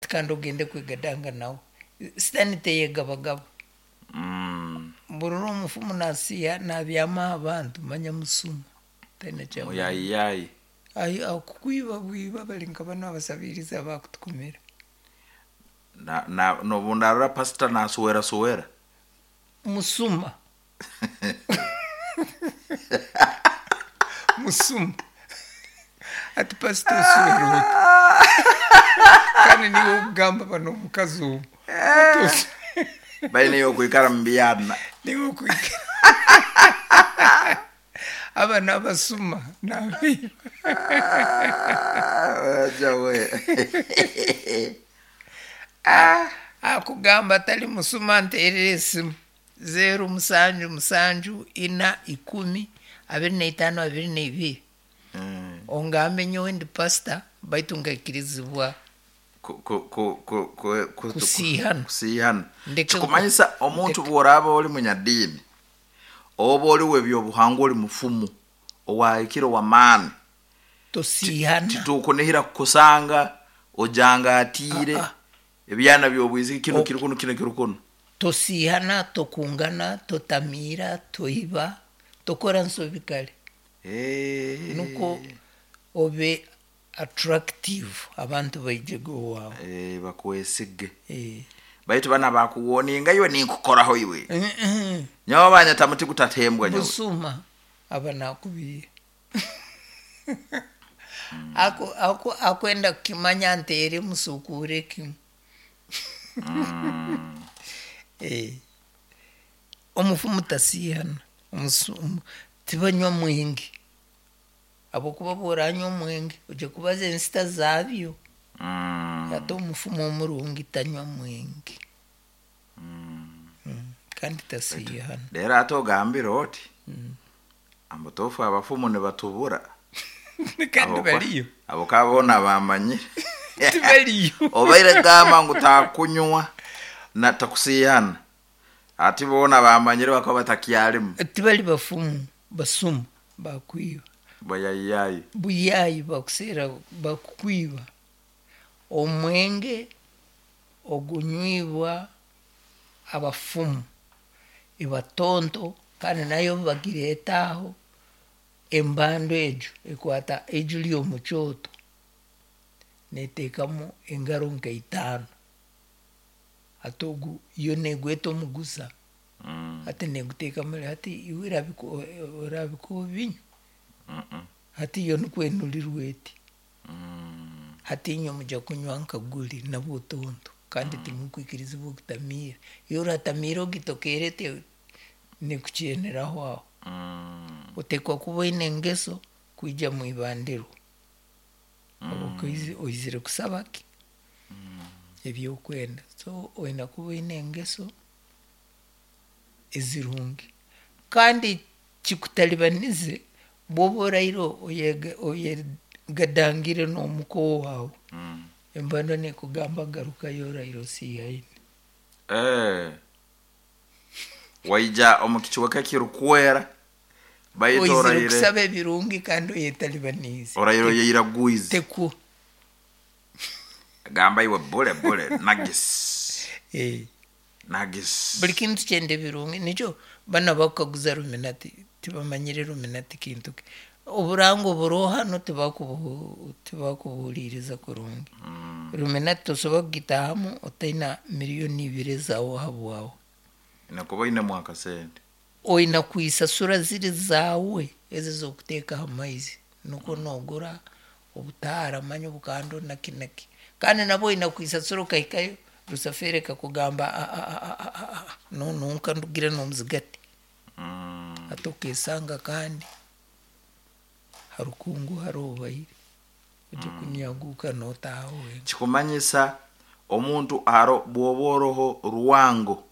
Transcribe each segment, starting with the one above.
Ati kandi ogende kwegadanga nawe. Sitaani teyegabagaba. Burora omufumu nasiiha nabyama aha bantu manya musuma taine kyamanya. Muyayiyayi. Ai akukwiba bwiba bari nka banu abasabirizi abakutukumira. Na nobu ndarora pastor nasuwera suwera. Musuma. Musuma. Ati pastor osuwera ota? Kandi niiwe okugamba banu omukazi omu. Baine yokwikara mu byana. Niiwe okwikara. Aba n'abasuma n'abaiba. Akugamba atali musuma nterera esimu 0 7 7 4 10 25 22. Ongambe nyowe ndi pastor baitu nkaikirizibwa kusiihana. Kusiihana. Ndeke Kikumanyisa omuntu bw'oraaba oli munyadiini oba oli w'ebyobuhangwa oli mufumu owahikire ow'amaani, Tosiihana. Titukunihira kukusanga ojangatiire ebyana by'obwisiki kinu kiri kunu kinu kiri kunu. Tosiihana, tokungana, totamiira, toiba, tokora nsobi kare. Nukwo obe attractive abantu baijege owaawe. Bakwesige. Baitu banu abakuwoninga iwe ninkukoraho iwe. Nyowe banyeta muti gutatembwa nyowe. Busuma aba nakubiiha. Akwenda kukimanya nteere musukuure kimu. Omufumu tasiihana, tibanywa mwenge. Habwokuba bworanywa omwenge ojya kubaza ensita zaabyo. Hati omufumu omurungi tanywa mwenge. Kandi tasiihana. Rero ate ogambire oti ambutofu abafumu nibatubura. Kandi bariyo. Abo ka boona bamanyire. Tibariyo. Obaire gamba ngu takunywa na takusiihana. Ati boona bamanyire bakaba batakyalimu. Tibali bafumu, basuma bakwiba. Bayayiyayi. Buyayi bakuseera bakukwiba. Omwenge ogunywibwa abafumu ibatonto kandi nayo bagireeta aho embando egyo ekwata eiju ry'omukyoto neteekamu engaro nka itaano. Hati ogu yo negweta omugusa hati neguteekamu hati iwe orabika obinywa? Hati yo nikwo enurirwa eti. Hati inywe mujya kunywa nka guri nabwo tonto kandi timukwikirizibwa okutamiira. Iwe oratamiira ogitokeere eti nekukyeneraho aho. Oteekwa kuba oine engeso kwija mwibandiro. Oizire kusaba ki? Ebyokwenda. So oine kuba oine engeso ezirungi. Kandi kikutalibanize bwoba oraire oyegadangire n'omuka owaawe, embandwa nekugamba garukayo oraire osiihaine. Waija omu kicweka ekirukwera baitu Oizire oraire kusaba ebirungi kandi oyetalibaniize. Oraire oyeiragwize. Tekwo. Gamba iwe bule bule nagis. Nagis. Buli kintu kyenda ebirungi nikyo banu abakukaguza ruminati tibamanyire ruminati kintu ki. Oburango buroho hanu tibakubuhuliiriza kurungi. Ruminati tosobora kugitaahamu otaina miliyoni ibiri ezaawe habwawe. Nakuba oinemu akasente. Oina kwisasura ziri zaawe ezi ez'okuteeka ha maizi nukwo nogura obutaara manya obukando naki naki. Kandi nabwo oina kwisasura okahikayo rusafeeri ekakugamba nonunka ndugire n'omuzigati. Hati okesanga kandi harukungu harobaire ojya kunyaguuka notaaha wenka. Kikumanyisa omuntu aro bwoba oroho rwango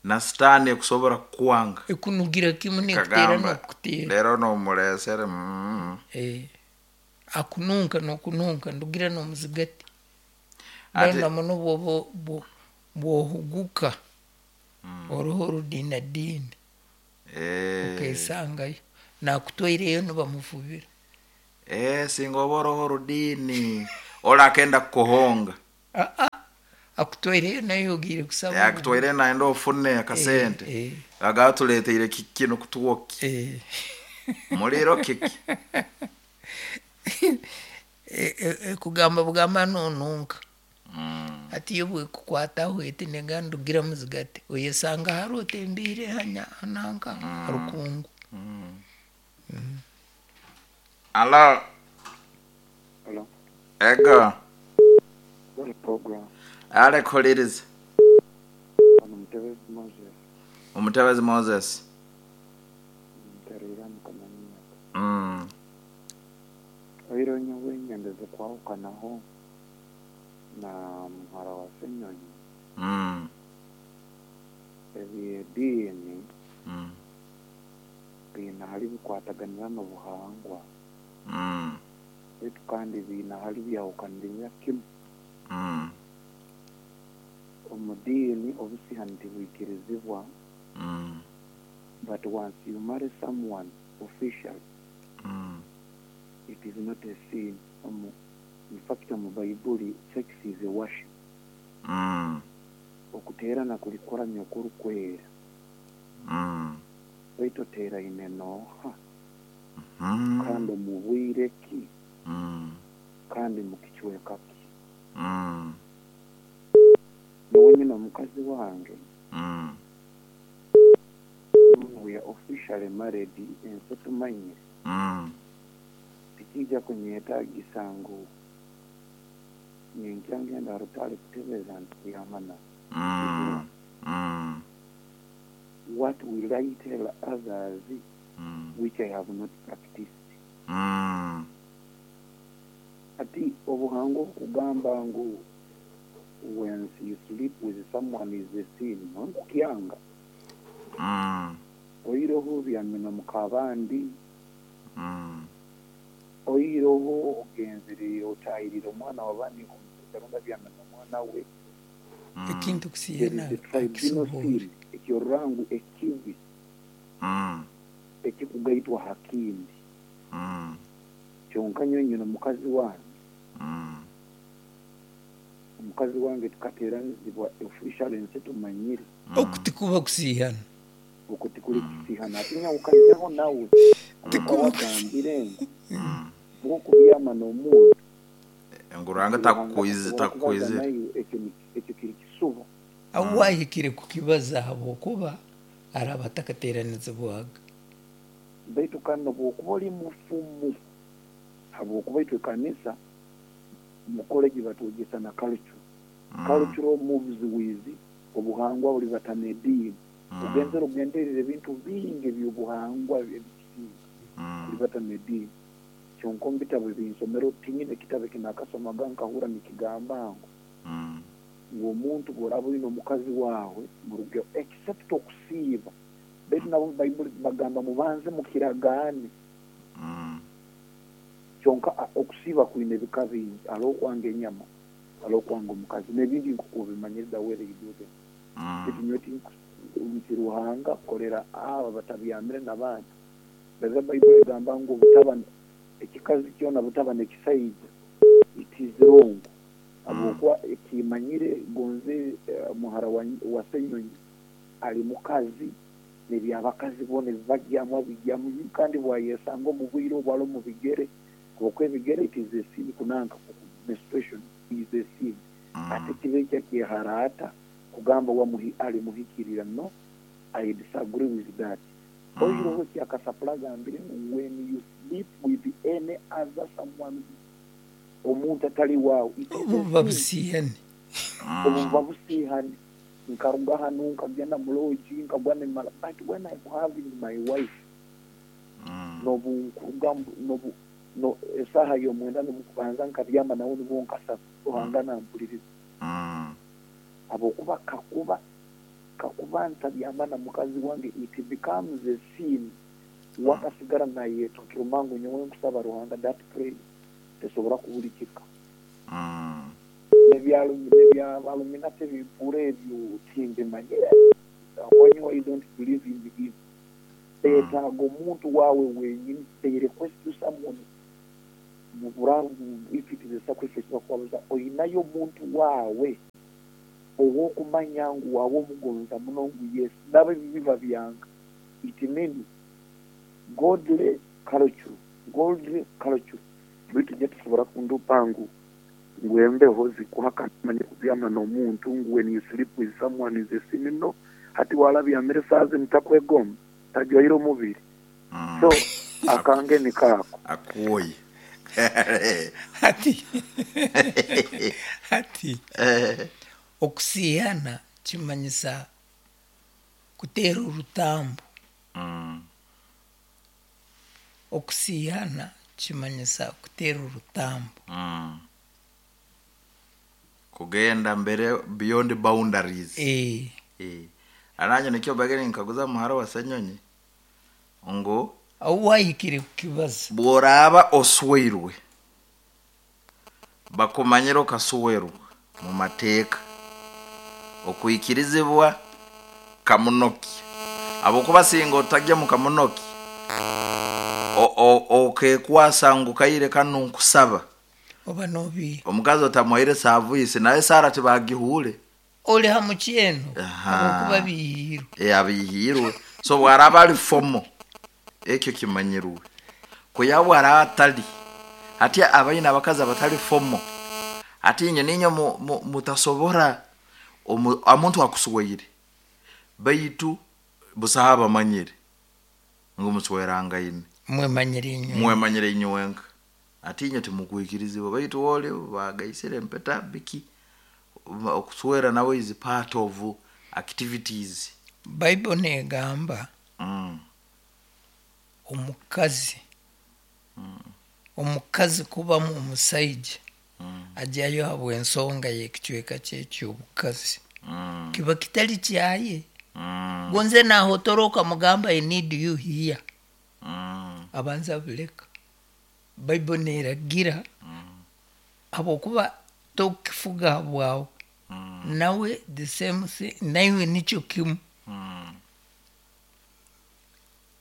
na sitaani ekusobora kukwanga. Ekunugira kimu nekuteera nokukuteera. Rero nomuresere. Akununka nokununka ndugira n'omuzigati. Mbwenu muno bwoba bwohuguka oroho orudinadiini okesangayo nakutwaireyo nibamufubira. Singa oba oroho orudiini orakenda kukuhonga. Akutwaireyo naye ogiire kusaba. Akutwaire nayenda ofune akasente. Eh, eh. Agatuleteire kikino kutwoki. Eh. Muliro kiki? Kugamba bugamba nonunka. Hati iyo bwekukwataho eti negandugira muzigate oyesanga hari otembiire hanya nanka harukungu. Alo. Hello. Ego. What program? Ale kuliriza. Ono Mutebezi Moses. Omutebezi Moses. Nterera mukamanyaka. Oiro nyowe nyendeze kwahukanaho na muhara wa Senyonyi. Ebyediini biine hali bikwataganira n'obuhangwa. Baitu kandi biine hali byahukanirira kimu. Omu diini obusihani tibwikirizibwa. But once you marry someone officially, it is not a sin. In fact, omu Baibuli, sex is a worship. Okuteerana kuli kuramya okurukwera. Baitu oteeraine nooha? Kandi omu bwire ki? Kandi mu kicweka ki? Nyowe nyine omukazi wange. We are officially married, ensi tumanyire. Tikijja kunyetagisa ngu ninkya ngenda rutale kutebeza nti kuyamana. What will I tell others which I have not practiced? Ati obuhango okugamba ngu when you sleep with someone is a sin, nkukyanga. Oiroho byamina mukabandi. Oiroho ogenzere otayirire omwana wabandi omusaija byamina omwana we. Ekintu kusiyana tribunal ekyorangu ekibi. Ekikugaitwa hakindi. Kyonka nyonyo n'omukazi wange. Omukazi wange tukateeranizibwa official ensi tumanyire. Okutikuba kusihana. Okutikuli kusihana. Atinya ukanjaho nawe. Tikubagambire ngu bw'okubyama n'omuntu. Enguranga takukuize. Ekyo kiri kisuba. Aho wahikire kukibaza habwokuba araba atakateeranizibwaga. Baitu kandi obwokuba oli mufumu habwokuba itwe kanisa mu college batwegesa na culture. Cultural moves with obuhangwa buli batanediini. Ogenzera ogenderera ebintu bingi eby'obuhangwa ebikisinga buli batanediini. Kyonka omu bitabo ebinsomero tinyine ekitabo ekinakasomaga nkahura nikigamba ngu ngu omuntu bw'oraba oine omukazi waawe muruge except okusiiba. Baitu nabo Baibuli bagamba mubanze mukiragaane. Kyonka okusiiba kwine ebika bingi. Hariho okwanga enyama, hariho okwanga omukazi n'ebindi nk'oku obimanyire the way they do them. Baitu nyowe nti Ruhanga kolera aba batabyamire n'abandi. Baza Baibuli egamba ngu obutaba ekikazi kyona butaba n'ekisaija it is wrong. Habwokuba ekimanyire gonze muhara wa Senyonyi ali mukazi n'ebyabakazi boona ebibagyamu abigyamu kandi bwayesanga omu bwire obu ali omu bigere habwokuba ebigere it is a sin kunanka menstruation is a sin. Ate kiba ekyo akyeharaata kugamba ali muhikirira. No, I disagree with that. Oiroho ekyakasapula agambire ngu when you sleep with any other someone omuntu atali waawe obuba busihani. Obuba busihani. Nkaruga hanu nkagenda mu lodge nkagwa nemara, but when I'm having my wife nobunkuruga nobu no esaha y'omwenda nomukubanza nkabyama nawe nibwo nkasaba Ruhanga nampuliriza. Habwokuba kakuba ntabyama na mukazi wange it becomes a sin. Wakasigara nayetokera mangu nyowe nkusaba Ruhanga that prayer tesobora kubulikika. N'ebyaluminati ebimpura ebyo timbimanyire. Konyo I don't believe in him. Betaaga omuntu waawe wenyini. They request you someone muburaru if it is a sacrifice bakubabuza oyinayo omuntu waawe. Obwokumanya ngu waba omugonza muno ngu yes, nabo ebibi babyanga. It means godly culture, godly culture. Baitu nyowe tosobora kundupa ngu embeho zikuhakana manye kubyama n'omuntu ngu when you sleep with someone is a sin. No, hati warabyamire saaha zinu takwegomba, tajwaire omubiri. So akange nikaako. Akuoye. Hati hati okusiyana kimanyisa kuteera orutambu. Okusiyana kimanyisa kuteera orutambu. Kugenda mbere beyond boundaries. Ananye nikyo bagere nkaguza muhara wa Senyonyi ngo aho wahikire kukibaza bworaba osweirwe bakumanyira okaswerwa mu mateeka okwikirizibwa kamunoki abokuba singa otagya mu kamunoki okekwasa ngu kaire kanu nkusaba oba nobi omukazi otamuhaire saavisi naye Sara tibagihure oli ha mukyeno Aha. abokuba bihirwe. Abihirwe. So bwaraba ali fomo ekyo kimanyirwe kuya bwaraba atali ati abaina abakazi abatali fomo ati inye ninyo mutasobora omuntu akusweire baitu busaha bamanyire ngu muswerangaine mwemanyire inywe mwemanyire inywenka ati inye timukwikirizibwa baitu woli bagaisire empeta biki okuswera nawe is part of activities. Bible negamba omukazi kubamu omusaija ajyayo habw'ensonga y'ekicweka kye ky'obukazi kiba kitali kyaye. Gonze nahotoroka mugamba I need you here. Abanza buleka. Bible neragira habwokuba tokifuga bwawe. Nawe the same thing, naiwe nikyo kimu.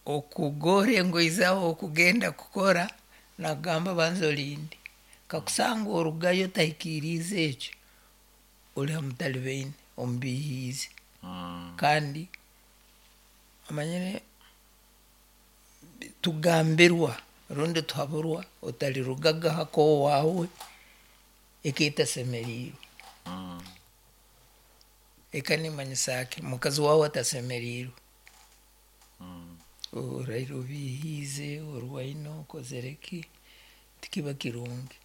Okugora engoyi zawe okugenda kukora nagamba banza olinde kakusanga orugayo tahikiriize ekyo oli hamutalibaine omubihiize. Kandi amanyire tugambirwa rundi tuhaburwa otalirugaga hako wawe eketasemeriirwe. Eka nimanyisa ki mukazi wawe atasemeriirwe oraire obihiize orwaine okozere ki tikiba kirungi.